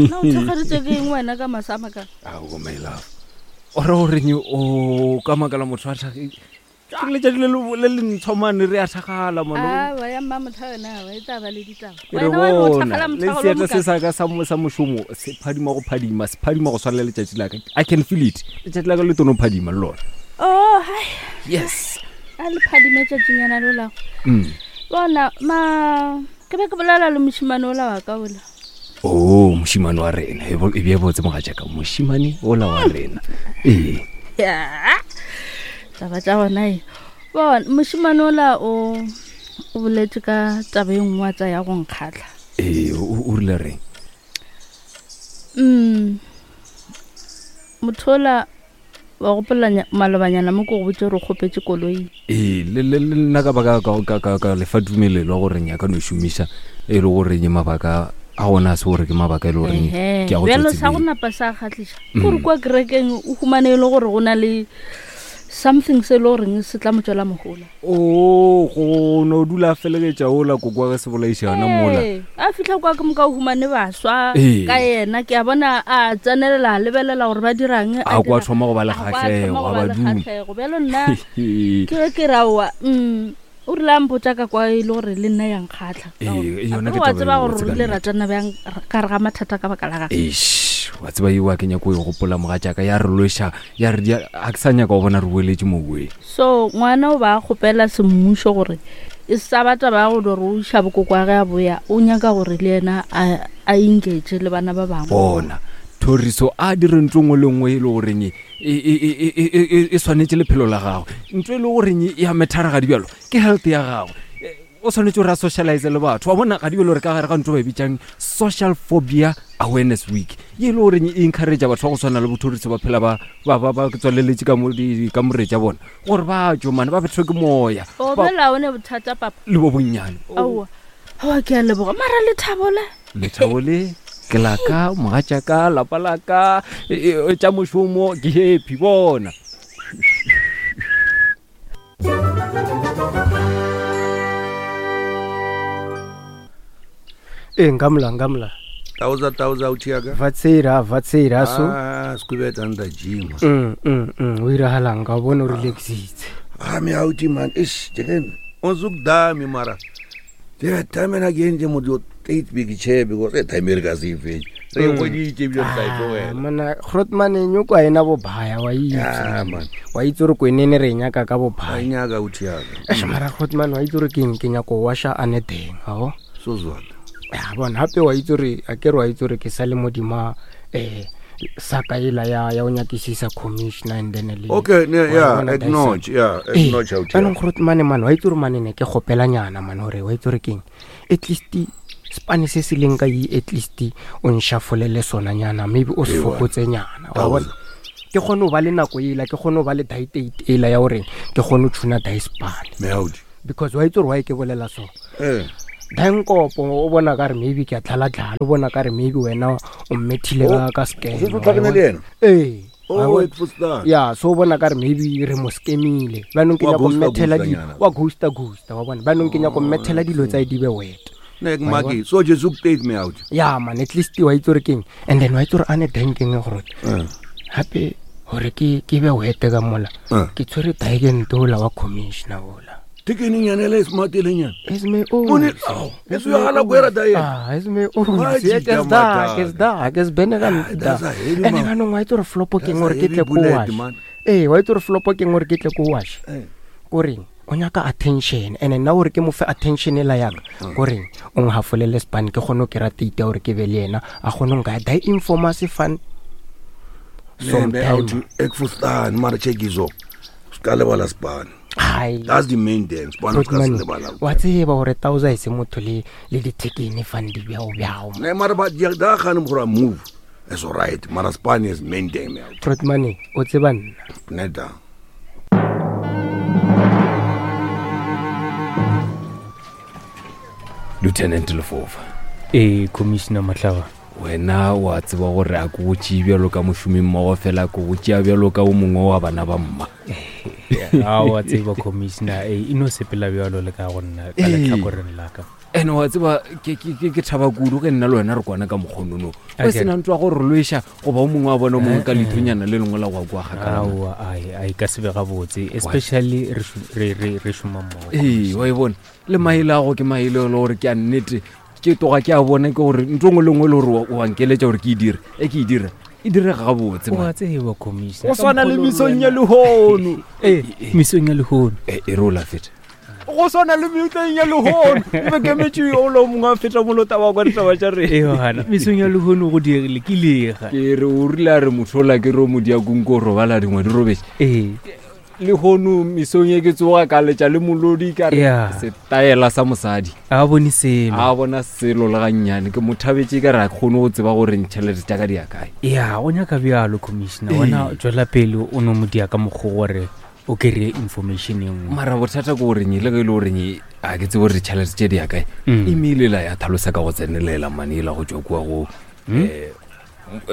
Na o thakgaditswe ke eng wena ka masama ka? Ao, my love. O re goreng o ka makala motho a thage ke letšatši le le le ntsho mane re a thagala mane. Awa ya mma motho yona awa e tla ba le ditaba. Ke re Wena wa re o bona thakgala le mothagalo seatla se mokaka. sa ka sa mo- sa mošomo se phadima go phadima se phadima go swana le letšatši la ka. I can feel it. Letšatši la ka le tono phadima le lona. Oh, hai. Yes. A le phadime tšatšinyana lo lago. Bona ma ke be ke bolela le mošimane ola wa ka ola. Oh, mošimane wa rena. E bo- E bje botse mogatšaka. Mošimane ola wa rena. Ee. Ya. Taba tša gona e. Bona mošimane ola o o boletše ka taba e nngwe wa tsa ya go nkgatlha. Ee, o o rile reng? Motho ola Wa gopola malobanyana mo ke go botše gore o kgopetše koloi? Ee, le le le nna ka ba ka ka ka ka ka lefa tumelelo ya gore nyaka no šomiša e le gore nye mabaka a gona a se gore ke mabaka e le gore ke a go Bjalo sa go napa sa kgatlhiša gore kua kerekeng o humane e le gore go na le something se e le goreng se tla mo tswela mohola. O go no dula a felegetša ola koko wa ge se bolaiša yona mola. Ee, a fihla kwa ke moka o humane baswa Ee. ka yena ke a bona a tsenelela a lebelela gore ba dirang A kwa thoma go ba le a kwa a kgahlego, thoma go a ba ba le duma. kgahlego. Bjalo nna ke ge ke ra oa o rile a mpotša ka kwa e le gore le nna ya nkgatlha. Ka Ee, gore yona akere ke wa taba tseba e gore botse re ka ile ra nnete. tsena bjang ka gare ga mathata ka baka la gage. Eish, wa tseba eo a ke nyako e gopola mogatšaka ya re lweša ya re a ke sa nyaka go bona re boeletše moboeng. So ngwana o ba a kgopela semmušo gore e sa ba taba ya go do re o iša bokoko wa ge a boya, o nyaka gore le yena a a engage le bana ba bangwe. Bona, Thoriso a dire ntho nngwe le nngwe e le goreng e, e, e, e, e, e, e, e swanetše lephelo la gagwe. Ntho e le goreng e a methara gadi bjalo ke health ya gagwe. O swanetše gore a socialize le batho. Wa bona gadi bjalo re ka gare ga ntho ba e bitšang social phobia awareness week, ye e le goreng e encourage batho ba go swana le bothoriso ba phela ba ba ba ba tswaleletše ka mo dikamore tša bona gore ba tšwe mane ba bethwe ke moya. O Ba- bjale ga o ne bothata papa? Le bo bonnyane. Aowa, aowa ke a leboga. Mara lethabo le? Lethabo le ke la ka, mogatšaka, lapa la ka, e, e, tša mošomo ke happy bona. Ee, nkamla nkamla. Tauza tauza uthiaka. Vatsera vatsera so. Ah, squibet under gym. Mm o iragalang ka bona o relaxitse. Ah, me out man. Ish, jeken. Onzukdami mara. Yeah, time and again je motho eight big chair because e time re ka se fetše. Re Mm. hweditše ebile re tla e tlogela. Ah, mona Grootman e nyoko a ena bobaya wa itse. Ah, man. Wa itse gore kwenene re e nyaka ka A bobaya. nyaka uthiaka. Eish, mara Grootman wa itse gore ke eng ke nyako washa a ne teng ao. So zwala. Ya bona gape wa itse gore a ke re wa itse gore ke sa le modima um saka ela ya ya o nyakisisa commissioner and then le Okay, ne, wa yeah, bona acknowledge, yeah, Ee, acknowledge out jaanong Grootman man wa itse gore mane ne ke gopelanyana man gore wa itse gore keng at least spane se se leng ka e at least o nshafolele sona nyana maybe o se Ee, fokotse nyana wa bona ke kgone go ba le nako ela ke kgone go ba le diet ela ya gore ke kgone go tshuna dispane Meaudi. because wa itse gore wa e ke bolela so Eh. dankopo o bona ka re maybe ke a tlhalatlhala o bona ka re maybe wena o mmethile ka ka O setse o tlhakane le yena? ee Oh, wa bona? ek verstaan. ya so o bona ka re maybe re mo scamile banong ke Wa nyako ghosta mmethela ghosta di nyana. wa ghosta ghosta wa bona banong ke nyako mmethela dilo tsa e di be wet Ne ek maki. So je zoek tyd me out. ya man at least wa itse gore keng and then wa itse gore a ne dankeng gore Eh. gape gore ke ke be wete ka mola Eh. ke tshwere daekente ola wa commissioner ola Tekeni nyana le smart le nyana. Is me o. Mone, au, e so ya hala kwera dae. Ah, is me o. Wa Se jita ke da, ke madala. da, ke se bene ka Ah, nta. that's a heavy Ene man. ka nong wa itse gore flopo ke That's gore a ke tle heavy ko bullet, wash. man. Ee, wa itse gore flopo ke gore ke tle ko wash. Eh. Koreng o nyaka attention and nna gore ke mo fe attention e la yaka koreng o nghafolele span ke kgone go kry-a date ya gore ke be le yena a kgone go nkaya die informa se fan Ne me out. sometime Ek verstaan, maar check izo. Ska lebala span. Hai. That's the main thing. Span ska se Grootman, lebala. wa tseba gore tausa e se motho le le dithekene fan di bjao bjao Ne mara ba dia da gaan gore move. It's all right. Mara span is main thing me out. Grootman o tseba nna Net da. Lieutenant Lefofa. Ee, Commissioner Mahlaba. Wena wa tseba gore a ke go tšee bjalo ka mošomi mmogo fela ke go tšea bjalo ka o mongwe wa bana ba mma. A wa tseba Commissioner, e no sepela bjalo le ka go nna ka Ee. lehlakoreng la ka. Ene wa tseba ke thaba kudu ge nna le wena re kwana ka mokgonono o sena ntwa go re lweša goba o mongwe wa bona o mongwe ka eh, eh. lethonyana le lengwe la go kwa kgakaaowa a ka se be gabotse especially re šoma mmogo. Ee, wa e bona le maele ago ke maele le gore ke a nnete, ke toga ke a bona ke gore ntho ngwe le nngwe le gore wa nkeletša gore ke e dire, e ke e dire e direga gabotse. Wa tseba commissioner, go swana le mesong ya lehono. Ee, mesong ya lehono. E re o la feta go swana le metleng ya lehono e be kemetše o lo mongwe a feta molota wa kwa ditaba tša rena. Mesong ya lehono go diegile ke lega. Ke re o rile a re motho ola ke re o modiakong ko robala dingwe di robetse. Ee. Lehono mesong e ke tsoga ka letša le molodi ka re setaela sa mosadi. A bone selo. A bona selo le gannyane, ke mo thabetše ka re a kgone go tseba gore ntšhelete tša ka di ya kae. Ya, o nyaka bjalo commissioner. Wena tswela pele o no mo dia ka mokgwa gore o kry-e information e nngwe. Mara bothata ke goreng le ge e le goreng a ke tsebe gore ditšhelete tše di ya kae. Email ela ya tlhalosa ka go tsenelela mane ela go tswa kua go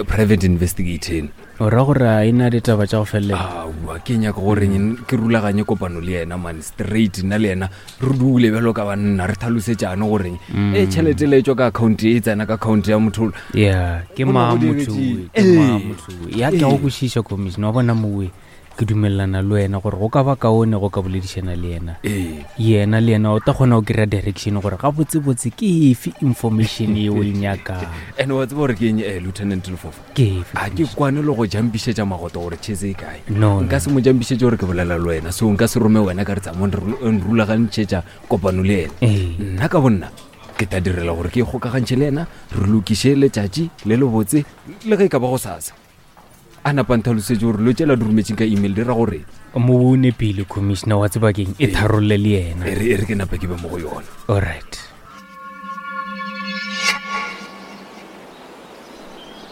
private investigator. O ra gore a e na ditaba tša go felela? Aowa, ke nyaka gore ke rulaganye kopano le yena mane straight, nna le yena re dule bjalo ka banna re tlhalosetšane goreng e tšhelete le e tswa ka account e tsena ka account ya motho. Ya, ke Go ma no go motho diretše. we, ke ma Ee. motho we. Ya, ke a go Ee. kwešiša commissioner. Wa bona mowe, ke dumelelana le wena gore go ka ba kaone go ka boledišana le yena. Ee. Yena le yena o ta kgona go kry-a direction gore gabotsebotse ke efe information ye o e nyakang. And wa tseba gore ke eng, Lieutenant Lefofa? Ke efe? A ke kwane le go jampišetša magoto gore chese e kae. No, nka no. se mo jampišetše gore ke bolela le wena, so nka se rome wena ka re tsamong rulagantšhetša kopano le yena. Ee. Nna ka bonna ke tla direla gore ke ikgokagantšhe le yena, re lokiše letšatši le lebotse le ge e ka ba go sasa, a napa ntlhalosetše gore lo tšela di rometseng ka email di ra gore. Mo o nepile commissioner, wa tsebakeng e tharolle le yena. E re ke napa ke be mo go yona. Alright.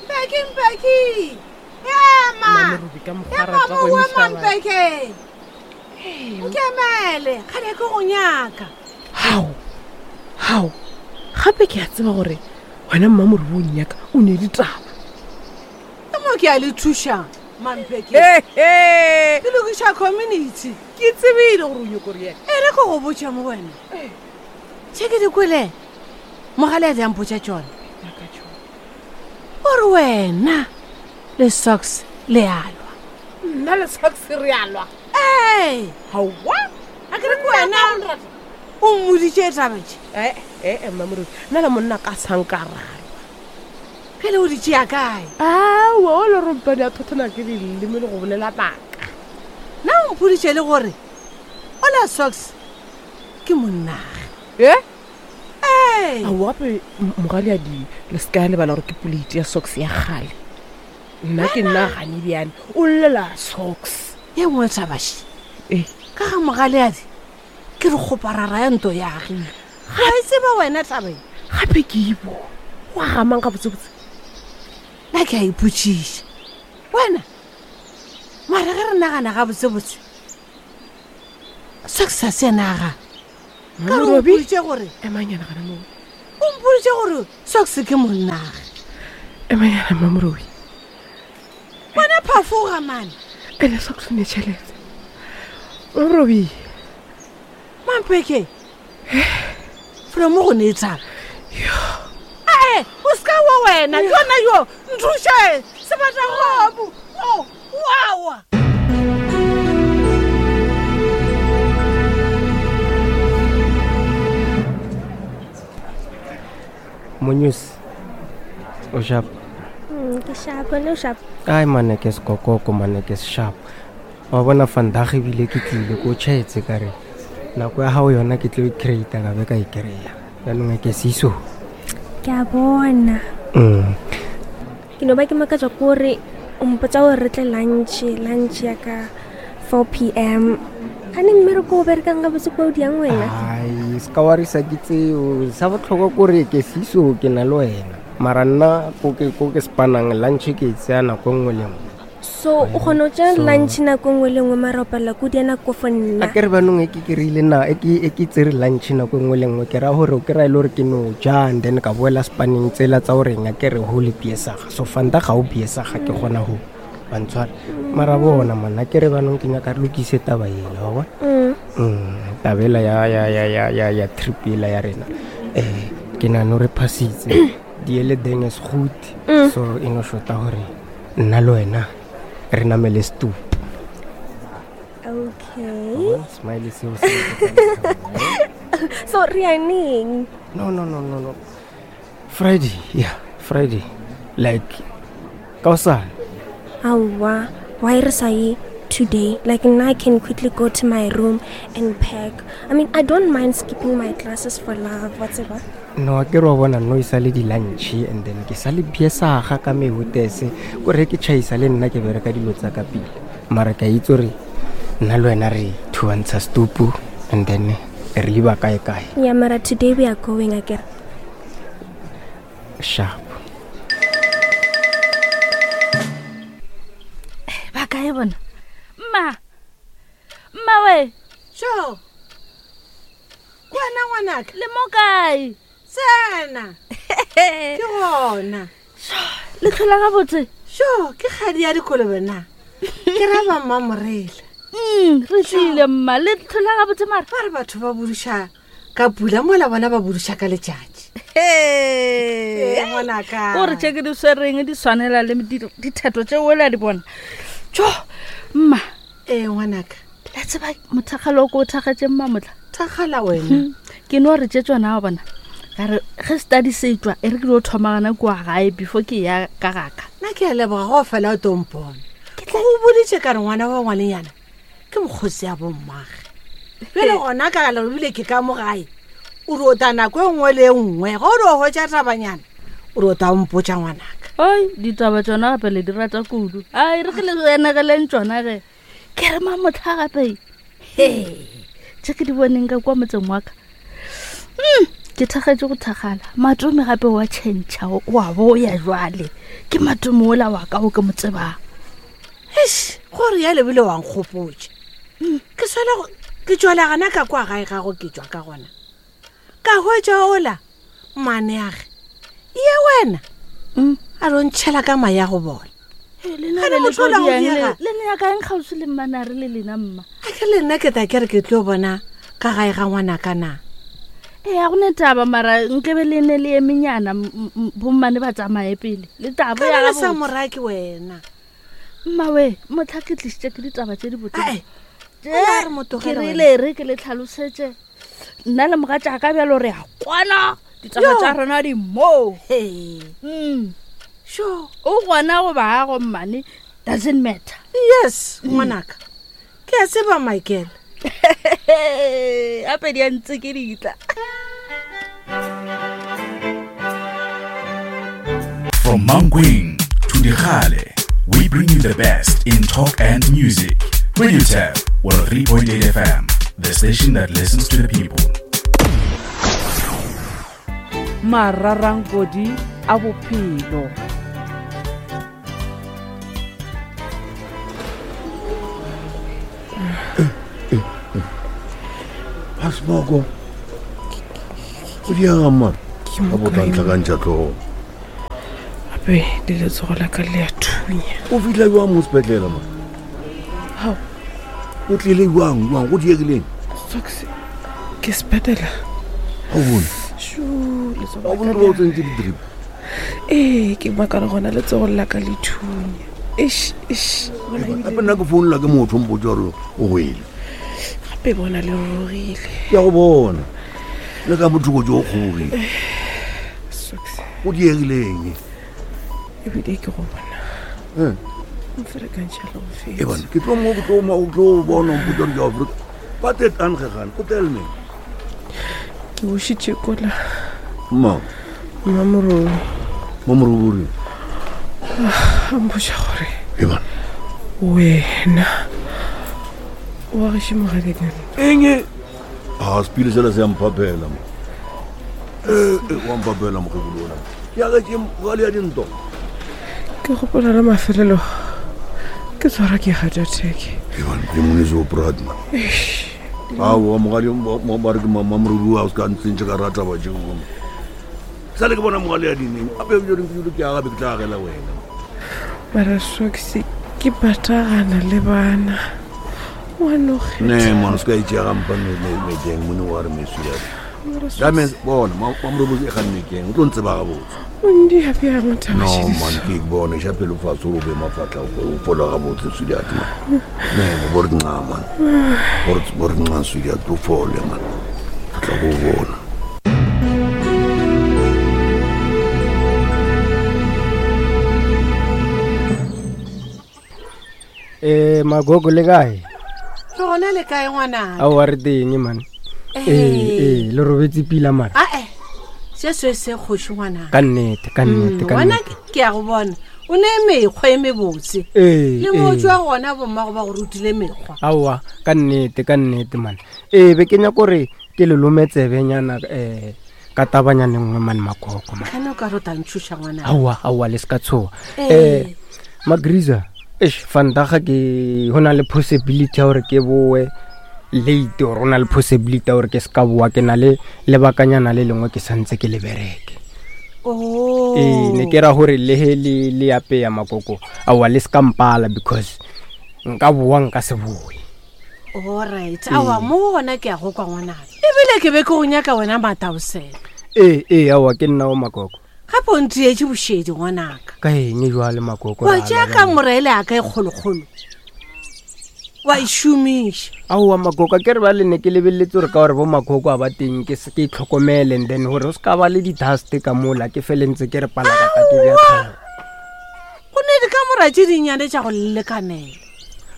Mpeki, Mpeki, ema. Mamerubi ka mokgwa Ema rata go mowe emiša batho. Mampeke, nkemele kgale ke go nyaka. Hao hao, gape ke a tseba gore wena mmamorubi o nnyaka o ne ditaba. Ke mo ke a le thušang Mampeke, Ehe, ke lokiša community. Ke tsebile gore o nyako re ena. E re ko go botša mo wena tše ke di kwele mogale a diampotša tšona ore wena le Socks le alwa. Nna le Socks re alwa? Ee. Gaowa. A ke re ke wena o mmoditše tabetse. Ee ee, mmamorubi, nna le monna ka sankaralwa. Ge le o di tšea kae? Aowa, o le rompane a thothona ke leleme le go bolela maaka. Na o mpoditše le gore ola Socks ke monnage. E. Ee. Aowa, gape mogaleadi le se ka lebala gore ke poleiti ya Socks ya kgale, nna ke nna gane bjane o llela Socks. Ye nngwe tabaše. Ee. Ka ga mogaleadi ke re kgoparara ya nto ya agile ga e tseba wena tabeng. Gape ke ibo wa gamang ga botsebotse. Nna ke a ipotšiša wena, mara ge re nagana ga botsebotse Socks a se naga ka re o Mamerobi? mpoditše gore Emanyana gana moo. O mpoditše gore Socks ke monnage. Emanyana Mmamorobi. Wena phafoga mane. Ene Socks o ne tšhelete, Mmamorobi. Mampeke, felo mo go ne tshaba ee, o se ka wa wena yona yo nthuše sebatagobu o wawa. Monyusi o sharp? Ke sharp, wena o sharp? Ai mane, ke sekokoko mane, ke sharp wa bona. Vandag ebile ke tlile ko tšhaetse ka re nako ya gago yona ke tlo e creata ka be ka e kry-a jaanong e ke seiso. Ke a bona. Ke no ba ke makatswa ke gore o mpotsa gore re tle lunch ya ka 4 p.m, gane mmereko o berekang gabotse kwa o diang wena? Ai, se ka warisa ke tseo, sa botlhokwa kore ke seiso, ke na le wena, mara nna ko ke spanang lunch ke e tseya nako e nngwe le nngwe. So o kgona go tšea So- lunch nako nngwe le nngwe, mara o palela ko dia nako fo A nna? ke re banong e ke kry-ile na e ke tsere lunch nako e nngwe le nngwe, ke raya gore o kry-a e le gore ke no ja and then ka boela spaneng tsela tsa goreng a ke re ho le biesaga, so fanta ga o biesaga ke kgona go bantshware, mara bona mana ke re banong ke nyaka re lokise taba ela wa bona. Tabela ya trip ela ya rena. Eh, ke nano re phasitse diele deng is goed so e no shota gore nna le wena re namele stoop Okay. Smiley seo se So re ya neng? No, no, no, no, no. Friday, yeah, Friday. Like kaosane. Aowa, why re sa ye today? Like now I can quickly go to my room and pack. I mean, I don't mind skipping my classes for love, whatever. No, ke re wa bona no e sa le di-lunch and then ke sa le biesaga ka mehotese kore ke tšhaisa le nna ke bereka dilo tsa ka pele mara ke a itse gore nna le wena re thuantsha stupu and then re liba kae kae. Yeah, mara today we are going again. Sharp. Ba kae bona? Mma, mma we. Sure. Kwana ngwanaka. Le mo kae? Tsena. Ke gona. Le tlhola gabotse? Sure, ke kgadi ya dikolobe na. Ke ra ba mmamorela. Re tlile mma, le tlhola gabotse mara. Ba re batho ba buduša ka pula mola bona ba buduša ka letšatši. Ee, ngwanaka. O re tše ke di swereng di swanela le ditheto tše ola di bona. Tjo, mma. Ee, ngwanaka. La tseba mothakgalo o ko o thakgatše mma motla. Thakgala wena. Ke no re tše tsona wa bona. Ka re ge study se tswa e re ke dio thoma gana kua gae before ke ya ka gaka. Nna ke a leboga go fela o tompone. Ke go boditše ka re ngwana wa ngwanenyana ke mokgosi ya bommage. Bjale gona ka le bile ke ka mo gae. O re o ta nako e nngwe le e nngwe ge o re o hwetša tabanyana o re o ta o mpotša ngwanaka. Oi, ditaba tsona gape le di rata kudu. Ai, re ke le enegeleng tsona ge. Ke re mamotlha gape. He, tše ke di boneng ka kwa motseng wa ka. Ke thakgetše go thakgala. Matome gape wa tšhentšha, wa boya jwale. Ke matome ola wa ka o ke mo tsebang. Eish, gore ya lebile wa nkgopotša. Ke swele go, ke tšwela gana ka kwa gae gago ke tšwa ka gona. Ka hwetša ola, mmaneage. Ye wena. A re o ntšhela ka maya go bona. Gane motho ola go diega. Le ne ya kaeng kgauswi le mmanare le lena mma? A ke le nna ke tla ke re ke tlo bona ka gae ga ngwanaka na. Ee, ga go ne taba mara nkebe le ne le emenyana bommane ba tsamaye pele. Le tabo ya Ka gabotse. sa moraki wena. Mma we, motlha ke tlišitše ke ditaba tše di botse. Ae, o la re mo Ke tlogele rile re ke le tlhalosetše. Nna le mogatšaka bjalo re a kwana. Ditaba Yo. tša rena di moo. Hey. Sure. O gona go ba go mmane doesn't matter. Yes, ngwanaka. Ke a tseba Michael. Gape di a ntse ke ditla. From Mankweng to Dikgale, we bring you the best in talk and music. Radio Tab, 103.8 FM, the station that listens to the people. Mararankodi a bophelo. A smoko. O diega mma. Ka bo tla ntlhakantšha tlhogo. Gape le letsogo la ka le a thunya. O fitlha jwang mo sepetlele ma? Hao. O tlile jwang jwang go diegileng? Socks ke sepetela. Ga o bone. Shu, letsogo Ga o la bone ka gore ba o le a- tsentse di-drip. Ee, ke makala gona letsogo la ka le thunya. Eish, eish. Bona ebile- Gape nna ke founela ke motho o mpotsa gore o wele. Gape bona le rurugile. Ke a go bona. Le ka mothoko jo o kgobogile. Socks. O diegileng. Ebile ke go bona. Eh. Mferekantšha le go fetsa. E bana, ke tlo mo ke tlo mo ke tlo bona o mpotsa gore ke Afrika. Ba tet angegane, o tell me. Ke bošitše kola. Mma. Mmamoroi. Mmamoroi. A mpotša gore. E bana. Wena. Wa gešo mogadikane. Eng? A sepile sela se a mphaphela mo. Wa mphaphela mokgekolo ona. Ke agetše mogale ya dinto. Ke gopola la mafelelo ke tshwara ke heart attack. E bana, ke mone se o proud man. Eish. Aowa, mogadi ba re ke mmamoroi a o se ka ntsentše ka rata ba tšeo. Sa le ke bona mogale ya dineng. Ape bjo reng ke ke aga be ke tla agela wena. Mara Socks ke patagana le bana. Ngwana o Ne kgetha. mona se ka itšea gampa meteng mone wa re mesu ya. That means bona mamorobosi e ganne keng o tlo ntseba gabotse. Ondia bjang No thabašediso man ke bone xa pelo fatshe o be mafatla o fola gabotse sweetheart man. Ne bo re nca man. Bo re nca sweetheart o fole man. Ke tla go bona. Eh magogo le kae? Re gona le kae ngwana? Aowa re teng man. Ee ee le robetse pila man. Ae se se se kgoši ngwana. Ka nnete ka nnete ka Wena nnete. ke a go bona o ne mekgwa e mebotse. Ee, Le mo ee. tswa gona bommago ba go rutile mekgwa. Aowa ka nnete ka nnete man. Ee be ke nyaka gore ke le lome tsebenyana um ka tabanyane nngwe man magogo man. Gane o ka re o tla ntšhoša ngwana. Aowa aowa le se ka tshoga. Ee. Magriza eish vandaga ke go na le possibility ya gore ke boe late or go na le possibility ya gore ke se ka boa ke na le lebakanyana le lengwe ke santse ke le bereke. Oh. Ee ne ke ra gore le he le le apeya makoko aowa le se ka mpala because nka boa nka se boe. Alright, aowa mo gona ke a go kwa ngwanaka. Ebile ke be ke go nyaka wena mataosela. Ee ee aowa ke nna o makoko. Gape o ntietše bošedi ngwanaka. Ka eng jwale makoko? Wa ra tšea lwa ka bjale? morele a ka e kgolokgolo. Wa e šomiša. Aowa makoko ke re ba le ne ke lebeletse gore ka gore bo makoko a ba teng ke se ke itlhokomele and then gore o se ka ba le di-dust ka mola ke fele ntse ke re palakata ke bja tlhogo. Go ne dikamora tše dinnyane tša go lekanela.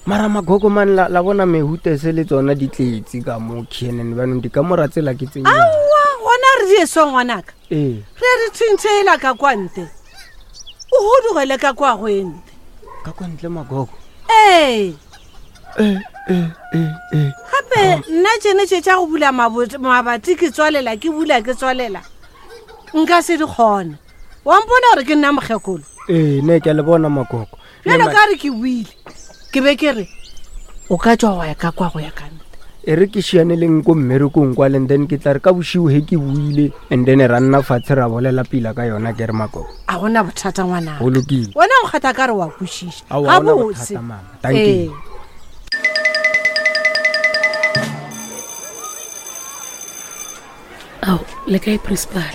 Mara magogo man la, la bona mehutese le tsona di tletse ka mo khnn banong dikamora tsela ke tse nnyane. Aowa gona re di eso ngwanaka. Ee Re re tshintshela ka kwa nte. O hudugele ka kwa go e nte. ka kwa ntle magogo. Ee. Ee ee ee ee. Gape nna tšene tše tša go bula mabati ke tswalela ke bula ke tswalela. Nka se di kgone. Wa mpona gore ke nna mokgekolo. Ee ne ke a le bona magogo. Ne Bjalo ma- ka re ke buile. Ke be ke re o ka tswa wa ya ka kwa go ya ka nte. E re ke šianeleng ko mmerekong kwale and then ke tla re ka bošiu he ke buile and then ra nna fatshe ra bolela pila ka yona ke re magogo. A gona bothata ngwanaka. Go lokile. Wena o kgatha ka re wa kwešiša. Aowa, ha hona Gabotse. bothata, mama. Thank you. Ee. Ao, le kae principal?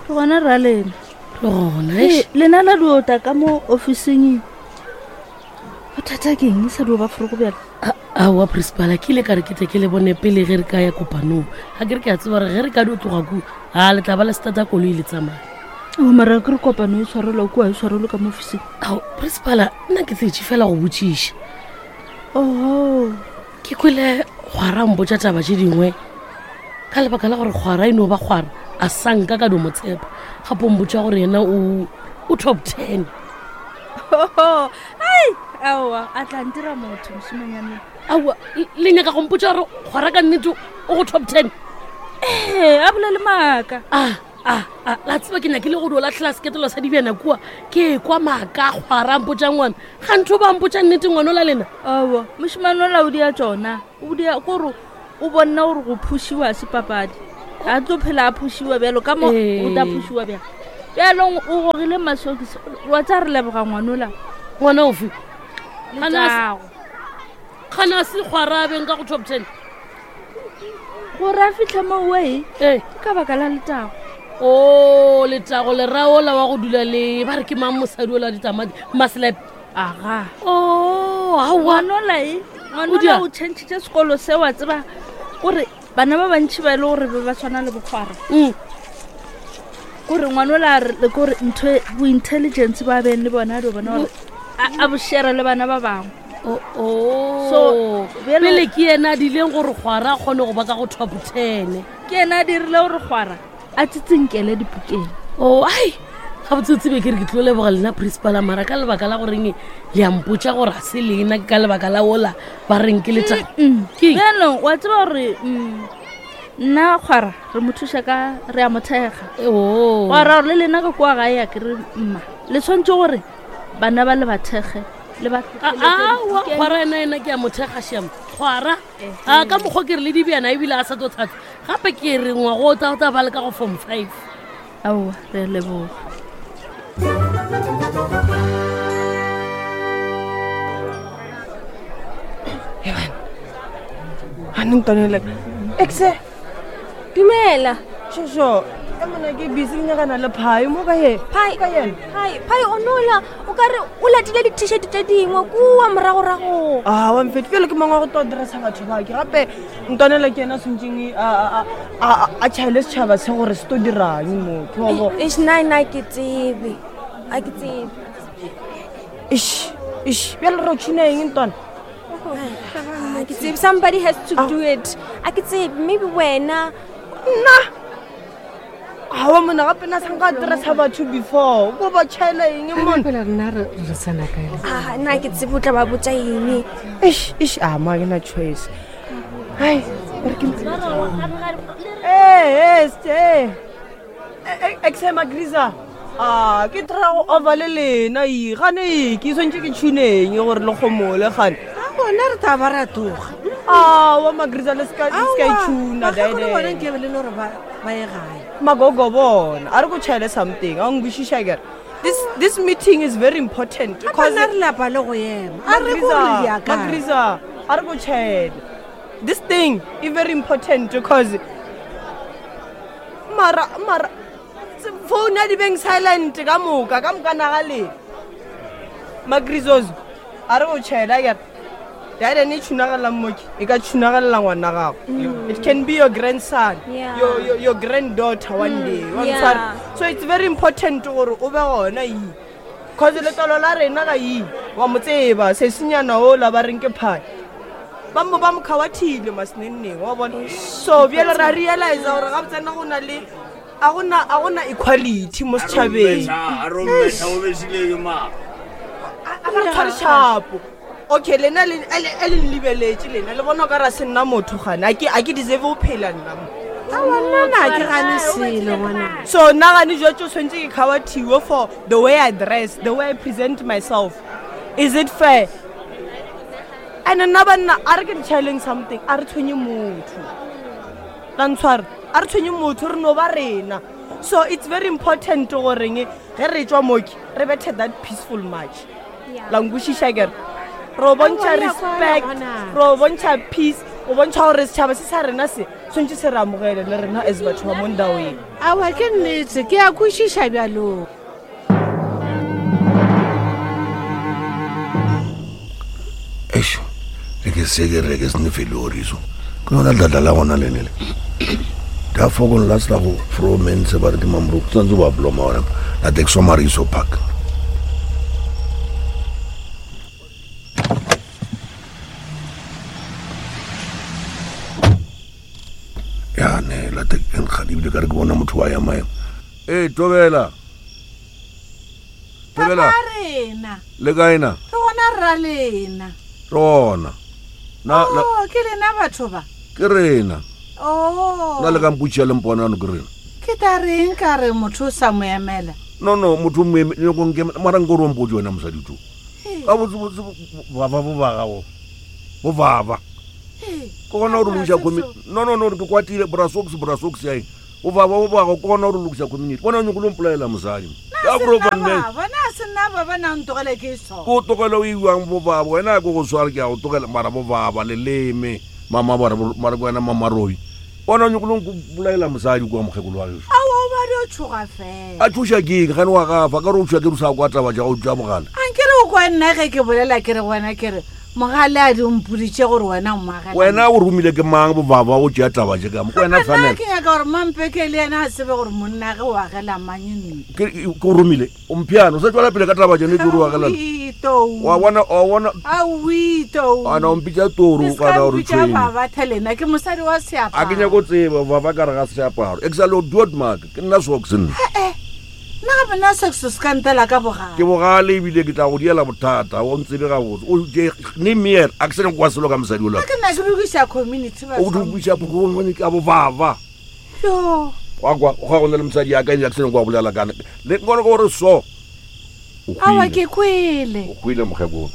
Re gona ra lena. Re gona. Ee, eish. lena la diota ka mo officing. Bothata ke eng e sa dio ba forogo bjalo? Aowa principal, ke ile ka re ke tle ke le bone pele ge re ka ya kopanong. Ga ke re ke a tseba gore ge re ka dio tloga kua, a le tla ba le stata koloi le tsamaya. O mara ke re kopano e tshwarelwa kua e tshwarelwe ka mo officing. Ao, principal, nna ke tsetše fela go botšiša. Oho. Ke kwele kgwara a mpotša taba tše dingwe ka lebaka la gore kgwara e no ba kgwara a sa nka ka dio mo tshepa. Gape o mpotša gore yena o top 10. Oho, ai, aowa, a tla ntira motho mošimanyane. Aowa, le nyaka go mpotša gore kgwara ka nnete o go top 10? Ee, a bolele maaka. A, la tseba ke nyakile go dio latlhela seketelo sa dibjana kua, ke kwa maaka a kgwara a mpotša ngwana. Ga ntho ba mpotša nnete ngwana ola lena? Aowa, mošimane ola o dia tšona. O dia kore o bonna gore go phušiwa se papadi. A tlo phela a phušiwa bjalo ka mo o tla phušiwa bjalo. Bjalong o gogile masokisi, wa tsa re leboga ngwanola. Ngwana ofe? Letago. Gana se kgwara a beng ka go top 10? Gore a fitlhe mo oe, Ee. ke ka baka la letago. O, letago le ra ola wa go dula le ba re ke mang mosadi ola ditamati Maslap. Aga. Oh, aowa. Ngwanola e, O ngwanola dia? o changile sekolo se wa tseba gore bana ba bantši ba e le gore be ba tshwana le bokgwara. Kore ngwanola a re le kore ntho e, bo intelligence ba beng le bona di bona gore a bo share le bana ba bangwe. Oh. So, bjalo- pele ke yena a dileng gore kgwara a kgone go ba ka go top 10. Ke yena a dirile gore kgwara a tsitsinkele dipukeng. Oh, ai, gabotse o tsebe ke re ke tlo leboga lena principal mara ka lebaka la goreng le a mpotša gore a se lena ke ka lebaka la ola ba reng ke letago. Ke eng? Bjanong wa tseba gore nna kgwara re mo thuša ka re a mo thekga. Oh. Wa ra gore le lena ka kua gae a ke re mma le tshwanetse gore bana ba le ba thekge le ba Aowa, kgwara ena ena ke a mo thekga shame. Kgwara. A ka mokgwa ke re le dibjana ebile a sa tlo thata. Gape ke re ngwago o tla o tla ba le ka go form 5. Aowa, re a leboga. Gane ntanele. Exe. Dumela. Shosho, e mona ke busy ke nyakana le phai mo ka ye. Phai ka yena. Phai, phai o nola o ka re o latile di-t-shirt tše dingwe kua moragorago. Ah, wa mfeti pele ke mangwe wa go to dressa batho ba ke gape ntwanela ke yena swantšeng a tšhaele setšhaba se gore se to dirang mo ke wa bo. Eish, nna nna ke tsebe. A ke tsebe. Eish, eish, bjale re o tšhina eng ntwana? A ke tsebe somebody has to do it. A ke tsebe maybe wena. Nna awa mona gape na sanka dressa batho before ko ba tšhaela eng mona Fela rena re re tsena kae le? Ah, nna ke tsebe o tla ba botša eng. Eish, eish, a ma ke na choice. Hai, re ke Eh, eh, ste. Exe Magriza. Ah, ke try go over le lena e gane e ke swantse ke tshuneng gore le gomole gane. A gona re tla ba ra tloga. Ah, wa Magriza le ska le ska itshuna Bakgekolo bona dede. nke be le le gore ba ba ye gae. Magogo bona, a re go tšhaele something. A ngwishisha kere. This this meeting is very important Gape nna re lapa le go ema. A re ko re ya kae. Magriza, a re go tšhaele. This thing is very important because mara mara phone ya di beng silent ka moka ka moka naga le magrizozo a re o tšhela kere dade ne tšhunagalela mmoki e ka tšhunagalela ngwana gago it can be your grandson Yeah. your, your, your granddaughter one day wa yeah. ntshwara? so it's very important gore o be gona ee cause letlalo la rena ga ee wa mo tseba sesenyana ola ba reng ke phane ba mo ba mo kgawathile masenenneng wa bona so bjale ra realize gore ga botsena go na le a gona a gona equality mo setšhabeng a re tshware shapo okay lena le a le nlebeletše lena le bona o ka ra se nna motho gane a ke a ke deserve go phela nna mo Aowa, nna na ke gane selo ngwana. so nna gane jwa tso tshwanetse ke kgawathiwe for the way i dress the way i present myself is it fair and nna banna a re ke ntšhaeleng something a re tshwenye motho la ntshware a re tshwenye motho re no ba rena so it's very important goreng ge re tswa moki re bethe that peaceful march la nkwešiša kere re o bontšha Aowa, ya respect kwana. re o bontšha peace o bontšha gore setšhaba se sa rena se tshwanetse se re amogele le rena as batho ba mo ndaweng Aowa ke nnete ke a kwešiša bjalo. Eish, le ke se ke re ke se ne feloriso ke yona dladla la gona lene le da fokong la sela go fromense ba re ke mamoroko tshwanetse ba bloma ona la tekso mariso park ya ne la tek nkgadi ebile ka re ke bona motho wa ya maemo ee tobela tobela Papa rena. le kae na Re gona rra lena. re gona na la- Oh, ke lena batho ba. ke rena Oh. na le ka mpotši ya lemponano ke rena Ke ta reng ka re motho o sa mo emela. no no motho mara nko re o mpotse wena mosadi to ka botsebotse baba bo ba gago bo baba ke gona gore lokisa community no no no ke kwatile brasox brasox yaeng bo baba bo bago ke gona gore lokisa community bona o nyako lo mpolaela mosadi ka profanne Ba bona se nna ba ba nang ntogele ke so. ko tlogele o iwang bo baba wena ke go sware ke a go tlogela mara bo baba leleme mama bare mara ke wena mamarobi bona o nyako lo mpolaela mosadi kwa mokgekolo wa geso Aowa o ba di o tshoga fela. a thuša keng gane wa gafa ka re o thuša ke re o sa kwa taba ja go tša mogala A nke re o kwa nna ge ke bolela ke re wena ke re mogale a di mpoditše gore wena o moagela. wena o romile ke mang bobaba o tšea taba je ka mo ke wena Nna tshwanela ke nyaka gore mampeke le yena a tsebe gore monna ge o agela mang ntlo. ke ke o romile o mphiano o sa tswela pele ka taba jene tse o agelana Aowi, tou. wa bona wa bona Aowi, tou. ana o mpitša toro Le kana ska o re mpitša tshwenye baba thelena ke mosadi wa a ke seaparo. nyako tseba baba ka re ga seaparo e ke sa le o duot mark ke nna socks nna Eh, nna gape nna sexo se ka ntela ka bogale. ke bogale ebile ke tla go diela bothata o ntsebe gabotse o je ne meer a ke sene kwa selo ka mosadi ola Nna ke nna ke lokiša community o dubisa ka bobaba Yo. wa kwa go ga go na le mosadi ya ka ene a ke sene kwa bolela kana le nkone ke gore so o Aowa hwile ke kwele. o hwile mokgekolo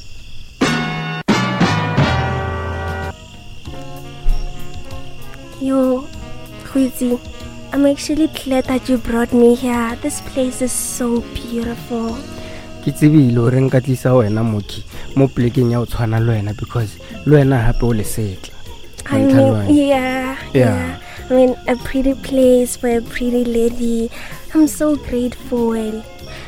Yo, Huizi, I'm actually glad that you brought me here. This place is so beautiful. ke tsebile gore nka tlisa wena moki mo polekeng ya go tshwana le wena because le wena gape o lesetla I mean, yeah, Yeah. I mean, a pretty place for a pretty lady. I'm so grateful.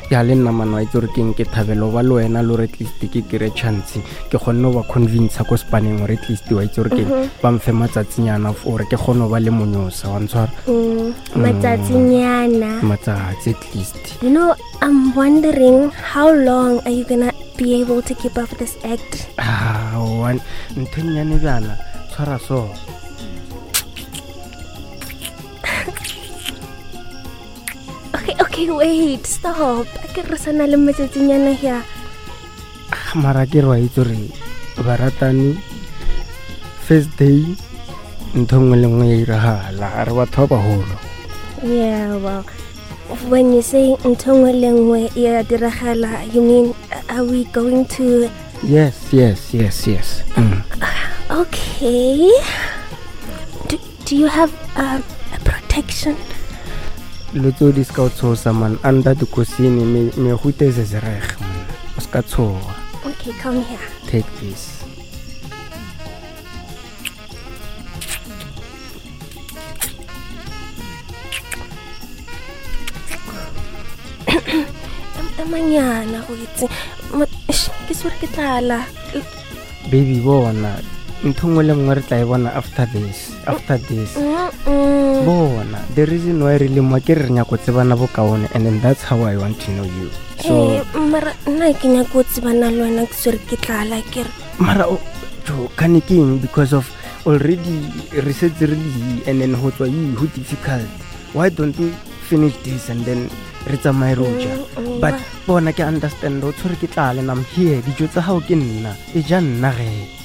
Ya le nna mano a itse gore keng ke thabelo ba le wena le gore at least ke kry chance ke kgonne go ba convince ko spaneng gore at least wa itse gore keng mhm. ba mfe matsatsinyana gore ke kgone go ba le monyosa wa ntshwara mm, matsatsinyana matsatsi at least you know i'm wondering how long are you gonna be able to keep up this act ah one ntho e nnyane bjana tshwara so Okay, okay, wait, stop. A ke re sana le matsatsinyana here. Ah, mara ke re wa itse gore baratani first day ntho nngwe le nngwe ya iragala re batho ba bagolo Yeah, well, when you say ntho nngwe le nngwe ya diragala, you mean are we going to yes yes yes yes mm. Okay. Do, do you have um, a protection? Dilo tseo di se ka o tshosa man under the kosini mehuta e zezereg man o se ka tshoga Okay, come here. Take this. Emanyana go itse. Ke swere ke tlala. Baby bona ntho nngwe le nngwe re tla e bona after this after this bona the reason why re le mo ke re re nyako tsebana bokaone and then that's how I want to know you so eh, mara nna ke nyako tsebana le wena ke swere ke tlala ke re mara jo kane ke eng because of already re setse re le and then go tswa e go difficult why don't we finish this and then re tsamaye ro ja mm, mm, but bona ke understand o tshwere ke tlale nam here dijo tsa gago ke nna e ja nna ge.